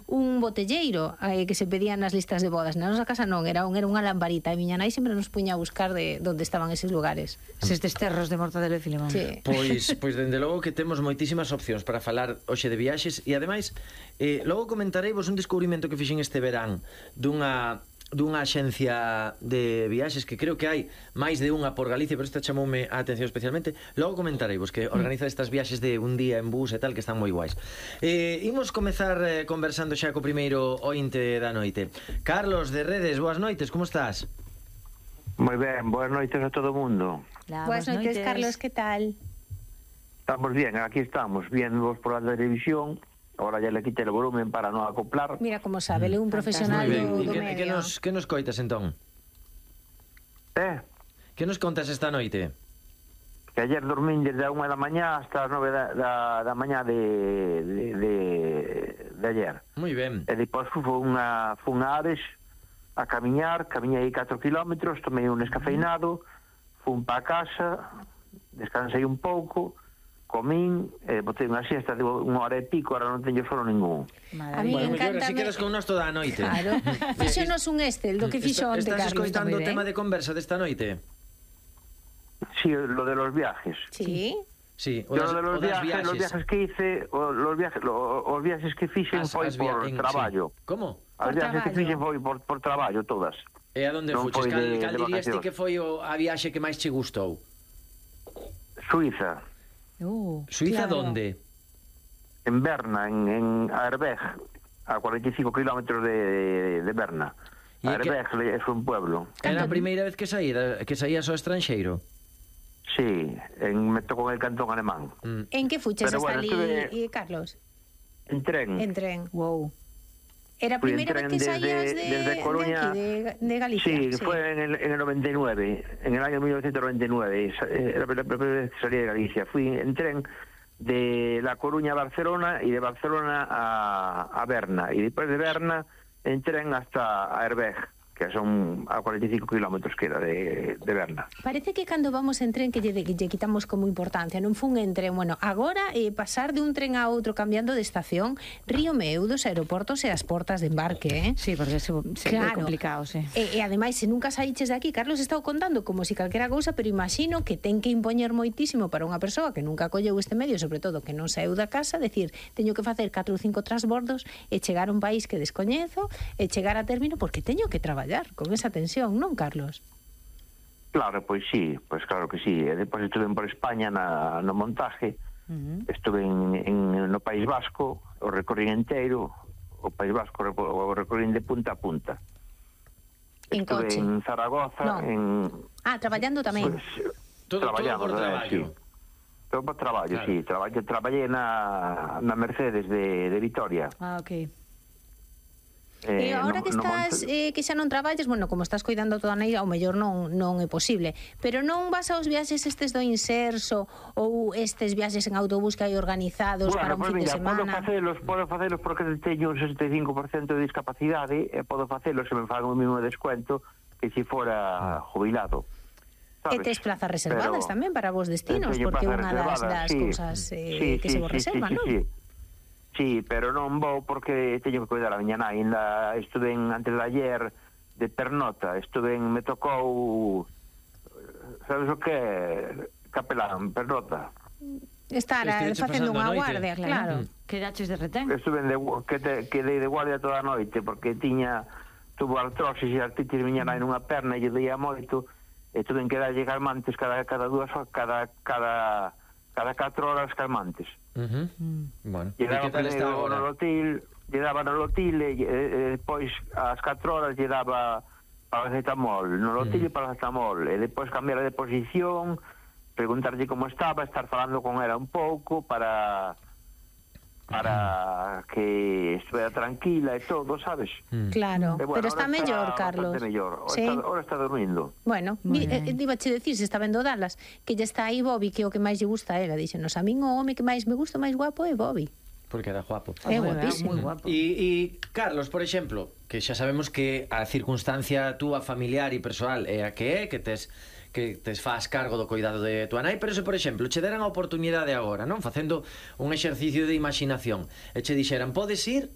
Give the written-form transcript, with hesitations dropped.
un botelleiro que se pedían nas listas de bodas. Na nosa casa non, era unha lamparita, e miña nai sempre nos puña a buscar de onde estaban eses lugares. Eses desterros de Mortadelo e Filemón. Sí. Pois dende logo que temos moitísimas opcións para falar hoxe de viaxes, e ademais logo comentareivos un descubrimento que fixen este verán dunha axencia de viaxes que creo que hai máis de unha por Galicia, pero esta chamoume a atención especialmente. Logo comentareivos que organiza estas viaxes de un día en bus e tal, que están moi guais. Imos comezar conversando xa co primeiro ointe da noite. Carlos de Redes, boas noites, como estás? Moi ben, boas noites a todo o mundo. Boas noites, Carlos, que tal? Estamos bien, aquí estamos, viéndoos por la televisión. Ahora ya le quité el volumen para non acoplar. Mira como sabe, ele é un profesional do medio. Que nos coitas entón? Que nos contas esta noite? Que ayer dormín desde a 1 da mañá hasta as 9 da mañá de ayer. Moi ben. E depois fun a Ares a camiñei 4 kilómetros, tomei un escafeinado, fun pa casa, descansei un pouco, comín, botei unha siesta de 1 hora e pico, ahora non teño sono ningún. A mí encanta. Si quedas con nós toda a noite. Claro. Fíxonos un Estel do que fixo onte, Carlos. Estás escoitando o tema de conversa desta noite? Sí, lo de los viajes. Sí. Sí, Yo lo de los viajes que hice, los viajes que fixen foi por traballo. Como? As viajes que fixen foi por traballo todas. E a onde fuches? Cal dirías ti que foi a viaxe que máis che gustou? Suiza. Suiza donde? En Berna, en Aarberg, a 45 kilómetros de Berna. Aarberg é un pueblo. Era a primeira vez que saías ao estranxeiro? Sí, me tocou en el cantón alemán. En que fuches hasta ali, Carlos? En tren. En tren, wow. Era a primeira vez que saías de Coruña, de Galicia. Sí, fue en el 99, en el año 1999. Era la primera vez que salí de Galicia. Fui en tren de La Coruña a Barcelona y de Barcelona a Berna. Y después de Berna en tren hasta Aarberg, que son a 45 kilómetros que era de Berna. Parece que cando vamos en tren que lle quitamos como importancia, non fun en tren, bueno, agora pasar de un tren a outro cambiando de estación, río meu dos aeroportos e as portas de embarque, Sí, porque é complicado, sí. E ademais, se nunca saíches de aquí, Carlos estaba contando como si calquera cousa, pero imagino que ten que impoñer moitísimo para unha persoa que nunca colleu este medio, sobre todo que non saeu da casa, decir, teño que facer 4 ou 5 transbordos e chegar a un país que descoñezo e chegar a término porque teño que traballar con esa tensión, non, Carlos? Claro, pois sí, pois claro que sí. E depois estuve por España no montaje, estuve no País Vasco, o recorrín inteiro, o País Vasco o recorrín de punta a punta. En estuve coche? En Zaragoza, traballando tamén. Pues, todo por traballo. Sí. Todo por traballo, claro. Sí. Traballei na Mercedes de Vitoria. Ok. E agora que estás que xa non traballes, bueno, como estás cuidando toda a nai, ao mellor non é posible, pero non vas aos viaxes estes do Inserso ou estes viaxes en autobús que hai organizados para un fin de semana? Podo facelos porque teño un 65% de discapacidade e podo facelos se me fan o mesmo descuento que se fora jubilado. E tes plazas reservadas tamén para vos destinos, porque unha das cousas que se vos reserva, non? Sí, pero non vou porque teño que cuidar a miña nai. Estuve antes de ayer de pernota, me tocou, sabes o que? Capelán, pernota. Estar facendo unha guardia, claro. Quedaches de retén? Quedei de guardia toda a noite porque tuvo artrosis e artritis miña nai nunha perna e lle deía moito e tuve que darlle calmantes cada 2 horas, cada 4 horas calmantes. Bueno, lle daba nolotil e depois ás 4 horas lle daba paracetamol, nolotil e paracetamol, e depois cambiar de posición, preguntarlle como estaba, estar falando con ela un pouco para que estuviera tranquila e todo, sabes? Claro, bueno, pero está mellor, Carlos. ¿Sí? Ahora está dormindo. Bueno, dibache decir, se está vendo Dallas, que lle está aí Bobby, que é o que máis lle gusta a ela. Díxenos, a min o home que máis me gusta, máis guapo é Bobby. Porque era guapo. É guapísimo. Moi guapo. E Carlos, por exemplo, que xa sabemos que a circunstancia túa familiar e persoal é a que tes faz cargo do cuidado de tua nai, pero se, por exemplo, che deran a oportunidade agora, non? Facendo un exercicio de imaginación e che dixeran, podes ir